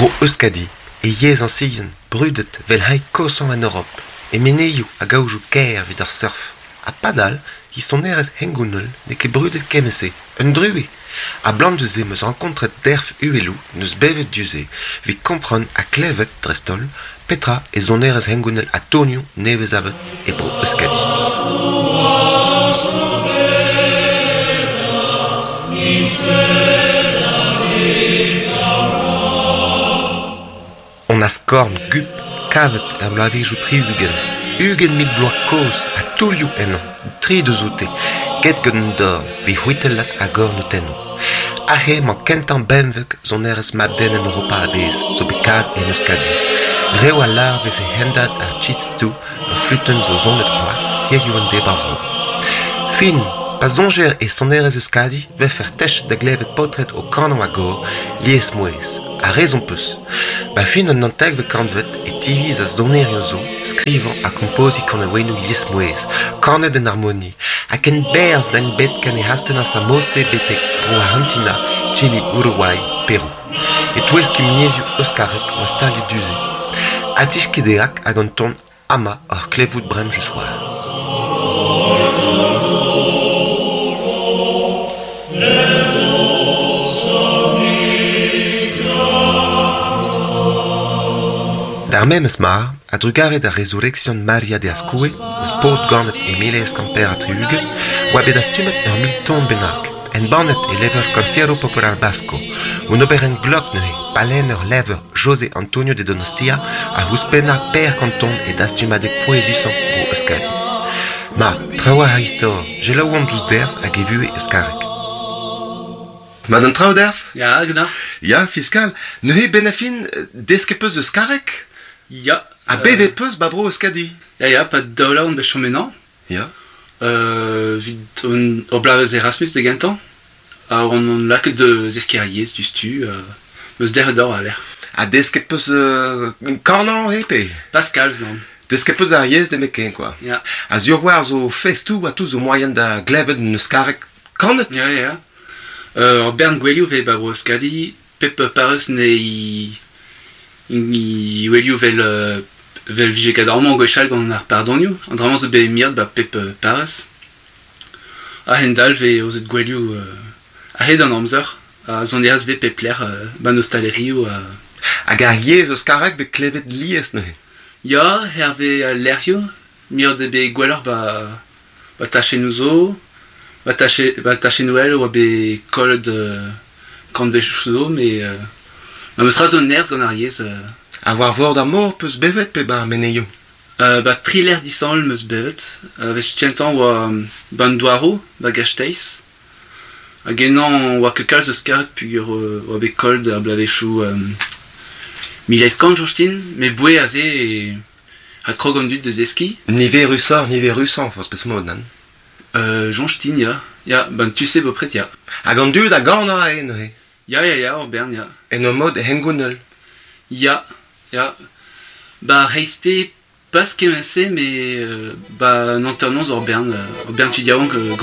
Bro Euskadi, e yezh añsien, brudet 'vel hini koshañ en Europ, e menezioù hag aojoù kaer evit ar surf. Ha padal, he sonerezh hengounel n'eo ket brudet kement-se, un druez. A-blam da se 'm eus rankontret Derf Uheloù 'neus bevet du-se evit kompren ha klevet, dreist-holl, petra eo sonerezh hengounel ha tonioù nevez-savet e bro Euskadi. An askorn gup kavet er bloavezhioù 60, 20 000 bloaz kozh ha toulloù ennañ, tri deus oute, get gant an dorn, evit c'hwitellat a-gornotennoù. Aze emañ kentañ benveg sonerezh mab-den en Europa a-bezh zo bet kavet en Euskadi. Reoù a lâr 'vefe hendad ar txistu ur flutenn zo sonet c'hoazh hiziv an deiz 'bar vro. Fin, pa soñjer e sonerezh Euskadi 'vefer techet da glevet paotred o kanañ a-gor, liesmouezh. Ha rezon 'peus. 'Ba fin an naontekvet kantved e tivizas sonerien zo skrivañ ha kompoziñ kanaouennoù liesmouezh, kanet en harmoni, ha ken berzh n'int bet ken e astennas ar mod-se betek Bro-Arc'hantina, Chili, Uruguay, Perou. E-touez kumuniezhioù euskarek 'oa staliet du-se. Adiskideak hag an ton amañ oc'h klevout bremañ just war. D'ar memes mar, a-drugarez da rezureksion Maria de Azkoue, ur paotr ganet e 1864, oa bet dastumet ur mil ton bennak, embannet e levr Concierto Popular Vasco, un oberenn glok neuze, pa lenn ur levr José Antonio de Donostia a ouzhpennañ Per Kanton e dastumadeg pouezusañ Bro Euskadi. Ma, trawalc'h a istor, selaouomp douzh Derv hag e vuhez euskarek. Mat an traoù, Derv? Ya, genau. Ya, fiskal. Neuze, 'benn ar fin, desket 'peus euskareg? Ya. Ha bevet 'peus 'ba Bro Euskadi? Ya, ya, 'pad daou vloaz on bet chom ennañ. Ya. Evit ur bloavezh Erasmus da gentañ. Ha on on lakaet da zeskiñ ar yezh diouzhtu. Meus derc'het d'ober war-lerc'h. Ha desket 'peus kanañ eo pe? Pas kalz, nann. Desket 'peus ar yezh nemetken quoi. Ya. Ha sur war zo festoù ha tout zo moaien da glevet un euskareg kanet. Ya, ya. Ur bern gouelioù 'vez 'ba Bro-Euskadi. Pep parrez 'nei gouelioù 'vel 'vel 'vije ket amañ gwechall gant ar pardonioù. An dra-mañ zo bet miret 'ba pep parrez. A-hend-all 'vez aozet gouelioù a-hed an amzer ha sonerezh 'vez pep lec'h 'ba 'n ostalerioù ha... Hag ar yezh euskareg 'vez klevet lies neuze? Ya, hervez al lec'hioù. Miret eo bet gwelloc'h 'ba 'ba tachennoù zo. 'Ba tache 'ba tachennoù all e oa bet kollet kantvedoù zo met ma 'meus c'hoazh zo nerzh gant ar yezh. Ha war vord ar mor 'peus bevet pe 'ba ar menezioù? 'Ba tri lec'h disheñvel 'm eus bevet. Wech kentañ 'oa 'ba 'n douaroù, 'ba Gasteiz. Hag ennañ 'oa ket kalz eus karg peogwir 'oa bet kollet ar bloavezhioù 1800 soñj din, met boe aze e adkrog an dud da zeskiñ. Niverusoc'h niverusañ forzh peseurt mod, nann? Soñj din ya. Ya, 'ba 'n tu-se bepred ya. Hag an dud a ganañ aze neuze? Ya, ya, ya, ur bern ya. En ur mod hengounel? Ya, ya. 'Ba ar c'hreisteiz pas kement-se met 'ba an hanternoz ur bern ur bern tud yaouank gant